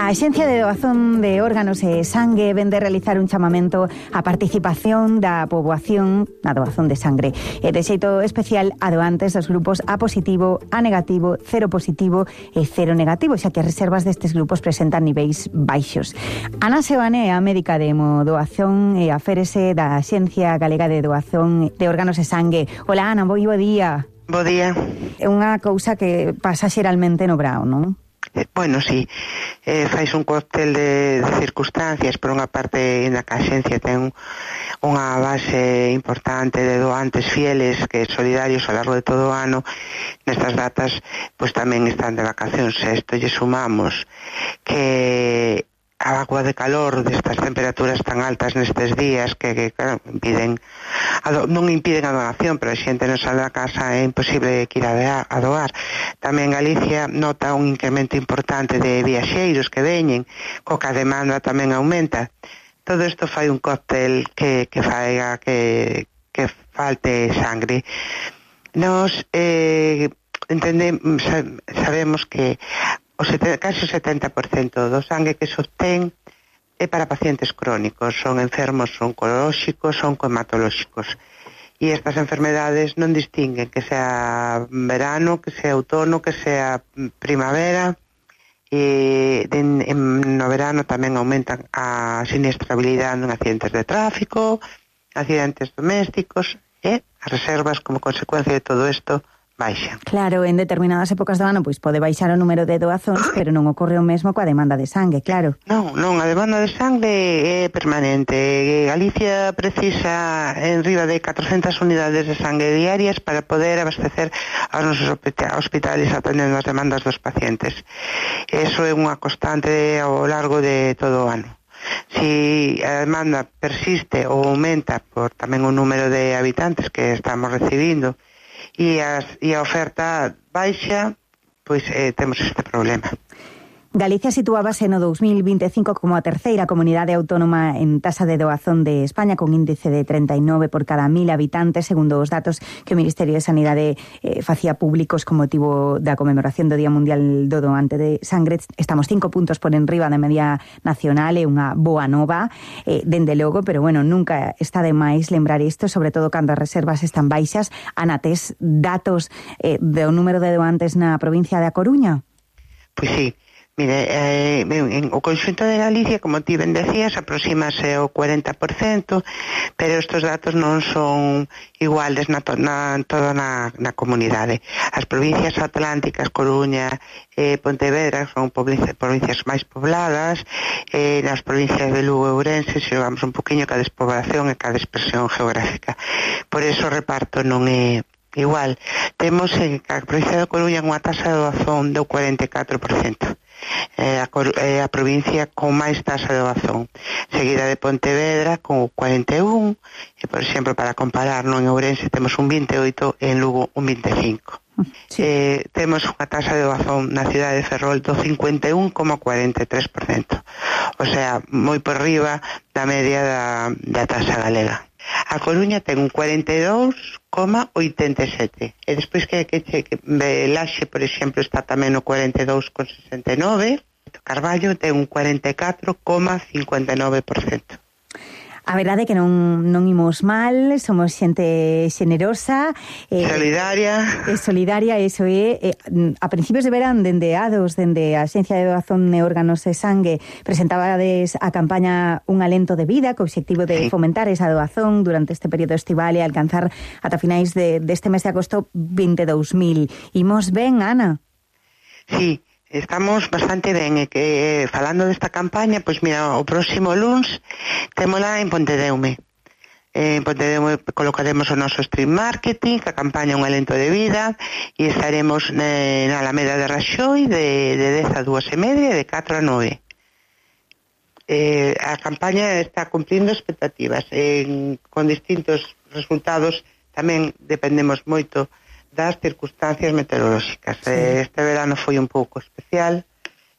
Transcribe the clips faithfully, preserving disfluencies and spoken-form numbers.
A Axencia de Doazón de Órganos e Sangue vén de realizar un chamamento á participación da poboación na doazón de sangre e de xeito especial a doantes dos grupos A positivo, A negativo, cero positivo e cero negativo, xa que as reservas destes grupos presentan niveis baixos. Ana Seoane é a médica de hemodoazón e aférese da Axencia Galega de Doazón de Órganos e Sangue. Hola Ana, moi bo día. Bo día. É unha cousa que pasa xeralmente no brao, non? Eh, bueno, sí, eh, fais un cóctel de, de circunstancias. Por unha parte, na que a Axencia ten unha base importante de doantes fieles que solidarios ao largo de todo o ano. Nestas datas, pois tamén están de vacacións. A isto lle sumamos que a agua de calor destas temperaturas tan altas nestes días que, que claro, impiden a do, non impiden a donación, pero a xente non sale da casa, é imposible que ir a, de, a doar. Tamén Galicia nota un incremento importante de viaxeiros que veñen, coa demanda tamén aumenta. Todo isto fai un cóctel que, que faiga que, que falte sangre. Nos eh, entendemos, sabemos que o sete, casi o setenta por cento do sangue que se obtén é para pacientes crónicos, son enfermos oncolóxicos, son hematolóxicos. E estas enfermedades non distinguen que sea verano, que sea outono, que sea primavera. E en, en, no verano tamén aumentan a siniestrabilidade en accidentes de tráfico, accidentes domésticos, e as reservas como consecuencia de todo isto baixa. Claro, en determinadas épocas do ano pois pode baixar o número de doazóns, pero non ocorre o mesmo coa demanda de sangue, claro. Non, non, a demanda de sangue é permanente. Galicia precisa en riba de catrocentas unidades de sangue diarias para poder abastecer aos nosos hospitales atendendo as demandas dos pacientes. Eso é unha constante ao largo de todo o ano. Si a demanda persiste ou aumenta por tamén o número de habitantes que estamos recibindo e, as, e a oferta baixa, pois eh, temos este problema. Galicia situábase no dous mil vinte e cinco como a terceira comunidade autónoma en tasa de doazón de España, con índice de trinta e nove por cada mil habitantes, segundo os datos que o Ministerio de Sanidade eh, facía públicos con motivo da conmemoración do Día Mundial do Doante de Sangre. Estamos cinco puntos por enriba da media nacional, é unha boa nova, eh, dende logo, pero bueno, nunca está de máis lembrar isto, sobre todo cando as reservas están baixas. Ana, tes datos eh, do número de doantes na provincia da Coruña? Pois sí. Mire, eh, en o conxunto de Galicia, como ti ben decías, aproximase ao cuarenta por cento, pero estes datos non son iguales na, to, na toda na, na comunidade. As provincias atlánticas, Coruña e eh, Pontevedra, son provincias máis pobladas, e eh, nas provincias de Lugo e Ourense xogamos un poquinho ca despoblación e ca dispersión geográfica. Por eso o reparto non é igual. Temos en a provincia de Coruña unha tasa de doazón do cuarenta e catro por cento. Eh, a, eh, a provincia con máis tasa de doazón, seguida de Pontevedra con o cuarenta e un, e por exemplo, para comparar, no, en Ourense temos un vinte e oito e en Lugo un vinte e cinco. Sí. Eh, temos unha tasa de doazón na cidade de Ferrol do cincuenta e un coma cuarenta e tres por cento, o sea, moi por riba da media da, da tasa galega. A Coruña ten un cuarenta e dous coma oitenta e sete, e despois que, que, que, que Laxe, por exemplo, está tamén no cuarenta e dous coma sesenta e nove, Carballo ten un cuarenta e catro coma cincuenta e nove por cento. A verdade é que non, non imos mal, somos xente xenerosa, eh, solidaria. É solidaria, iso é. Eh, a principios de verán, dende A D O S, dende a Axencia de Doazón de Órganos e Sangue, presentabades a campaña Un alento de vida, co obxectivo de sí. fomentar esa doazón durante este período estival e alcanzar ata finais de, deste mes de agosto vinte e dous mil. Imos ben, Ana? Sí. Estamos bastante ben, e que falando desta campaña, pois mira, o próximo luns témola en Pontedeume. En Pontedeume colocaremos o noso stream marketing, a campaña Un alento de vida, e estaremos na Alameda de Raxoi de, de dez a dúas e media e de catro a nove. Eh, a campaña está cumplindo expectativas, en, con distintos resultados. Tamén dependemos moito das circunstancias meteorolóxicas. Sí. Este verano foi un pouco especial,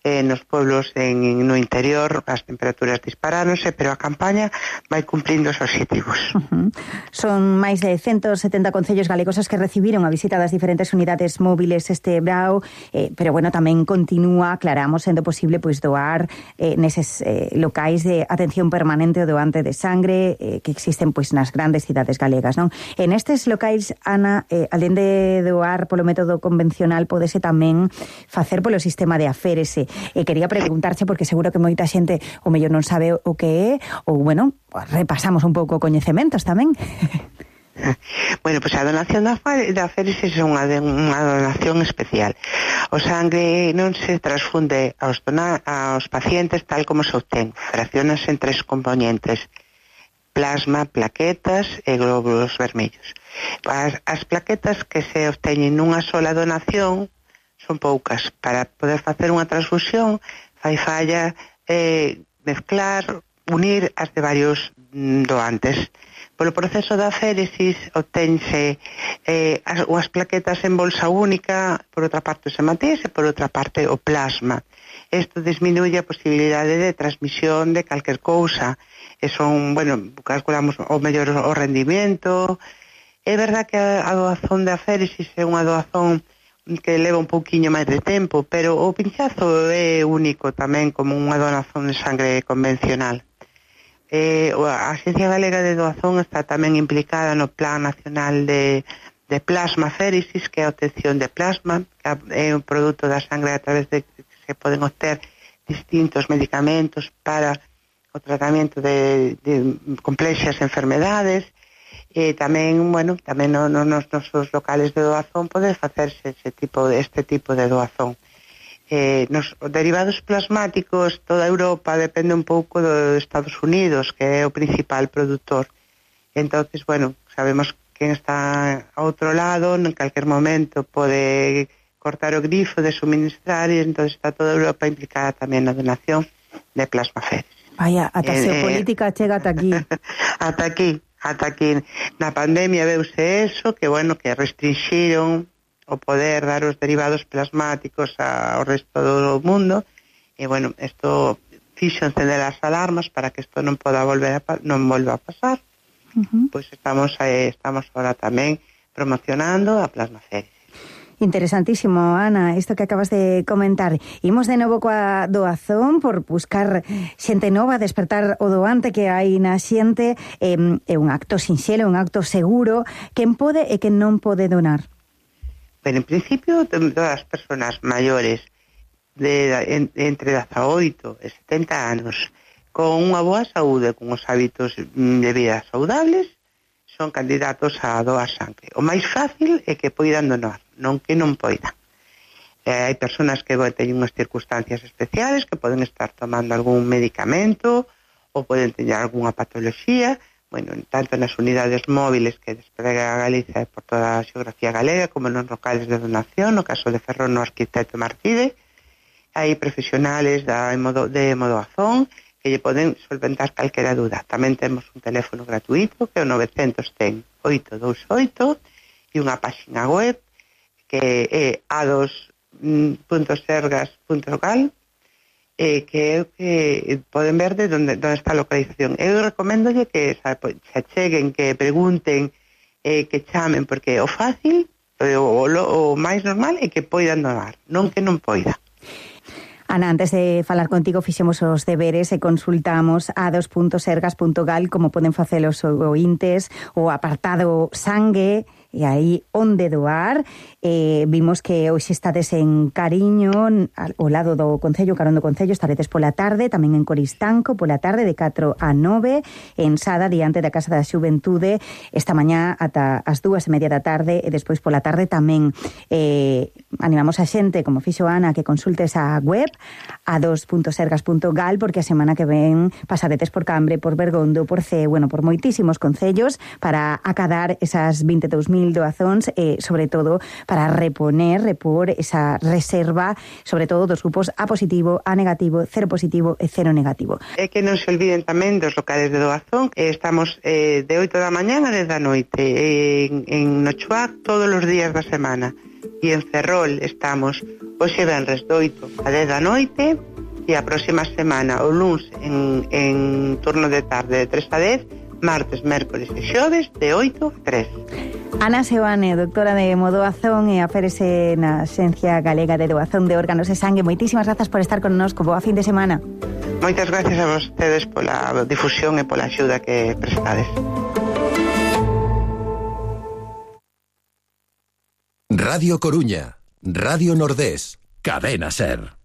eh, nos pueblos en, no interior as temperaturas disparáronse, pero a campaña vai cumplindo os obxectivos. Uh-huh. Son máis de ciento setenta concellos galegos os que recibiron a visita das diferentes unidades móviles este brao, eh, pero bueno, tamén continúa, aclaramos, sendo posible pois doar eh, neses eh, locais de atención permanente o doante de sangre eh, que existen pois nas grandes cidades galegas, non? En estes locais, Ana, eh, alén de doar polo método convencional, podese tamén facer polo sistema de aférese. E quería preguntarche, porque seguro que moita xente o mellor non sabe o que é, ou, bueno, repasamos un pouco coñecementos tamén. Bueno, pois pues a donación da aférese é unha, unha donación especial. O sangue non se transfunde aos, donar, aos pacientes tal como se obtén. Fraccionas en tres componentes: plasma, plaquetas e glóbulos vermellos. As, as plaquetas que se obteñen nunha sola donación son poucas. Para poder facer unha transfusión fai falla eh, mezclar, unir as de varios doantes. Polo proceso da aféresis obtense eh, as, as plaquetas en bolsa única, por outra parte os hematíes e por outra parte o plasma. Isto disminuye a posibilidade de transmisión de calquer cousa. E son, bueno, calculamos o mellor o rendimento. É verdad que a, a doazón de aféresis é unha doazón que leva un pouquiño máis de tempo, pero o pinchazo é único tamén como unha donación de sangre convencional. Eh, a Axencia Galega de Doazón está tamén implicada no Plan Nacional de, de Plasma Aféresis, que é a obtención de plasma, que é un produto da sangre a través de que se poden obter distintos medicamentos para o tratamento de, de complexas enfermedades. E tamén, bueno, tamén no, no, nos nosos locales de doazón pode facerse ese tipo, este tipo de doazón. Eh, nos derivados plasmáticos, toda Europa depende un pouco de Estados Unidos, que é o principal produtor. Entonces, bueno, sabemos que está a outro lado, en calquer momento pode cortar o grifo de suministrar, e entonces está toda Europa implicada tamén na donación de plasma aféresis. Vaya, ata a xeopolítica eh, chega ata aquí. Ata aquí. Ata que na pandemia veuse eso, que bueno, que restringiron o poder dar os derivados plasmáticos ao resto do mundo, e bueno, isto fixo encender as alarmas para que isto non poda volver a, non volva a pasar. Uh-huh. Pois estamos eh, estamos ahora tamén promocionando a plasma aféresis. Interesantísimo, Ana, isto que acabas de comentar. Imos de novo coa doazón por buscar xente nova, despertar o doante que hai na xente. É, é un acto sinxelo, un acto seguro. Quen pode e quen non pode donar? Pero en principio, todas as persoas maiores de, en, entre dezaoito e setenta anos con unha boa saúde, con os hábitos de vida saudables, son candidatos a doar sangre. O máis fácil é que poidan donar, non que non poidan. Eh, hai persoas que bueno, teñen unhas circunstancias especiales, que poden estar tomando algún medicamento ou poden teñer algunha patoloxía. Bueno, tanto nas unidades móviles que desprega a Galicia por toda a xeografía galega, como nos locales de donación, no caso de Ferrón, no Arquitecto Martide, hai profesionales da, de doazón que lle poden solventar calquera dúda. Tamén temos un teléfono gratuito que é o novecentos ten oito dous oito e unha páxina web que é a dos punto sergas punto gal eh, que é o que poden ver de onde, onde está a localización. Eu recomendolle que se acheguen, que pregunten, eh, que chamen, porque o fácil, o, o, o máis normal é que poidan donar, non que non poida. Ana, antes de falar contigo fixemos os deberes e consultamos a dos punto sergas punto gal como poden facer os ointes, o apartado sangue, e aí onde doar. Eh, vimos que hoxe estades en Cariño, ao lado do Concello, carón do Concello, estaredes pola tarde, tamén en Coristanco, pola tarde de catro a nove, en Sada, diante da Casa da Xuventude, esta mañá ata as dúas e media da tarde, e despois pola tarde tamén. Eh, animamos a xente, como fixo Ana, que consulte esa web, a dos punto sergas punto gal, porque a semana que ven pasaredes por Cambre, por Bergondo, por Cee, bueno, por moitísimos concellos, para acadar esas vinte e dous mil doazóns, e, sobre todo, para reponer, repor esa reserva, sobre todo dos grupos A positivo, A negativo, cero positivo e cero negativo. É que non se olviden tamén dos locales de doazón. Estamos eh, de oito da mañá a dez da noite en, en Nochoac todos os días da semana. E en Ferrol estamos hoxe venres de oito a dez da noite, e a próxima semana o luns en, en turno de tarde de tres a dez, martes, mércoles e xoves de oito a tres. Ana Seoane, doctora de Modoazón e aférese na Xencia Galega de Doazón de Órganos e Sangue. Moitísimas grazas por estar connosco. Boa fin de semana. Moitas gracias a vostedes pola difusión e pola axuda que prestades. Radio Coruña, Radio Nordés, Cadena Ser.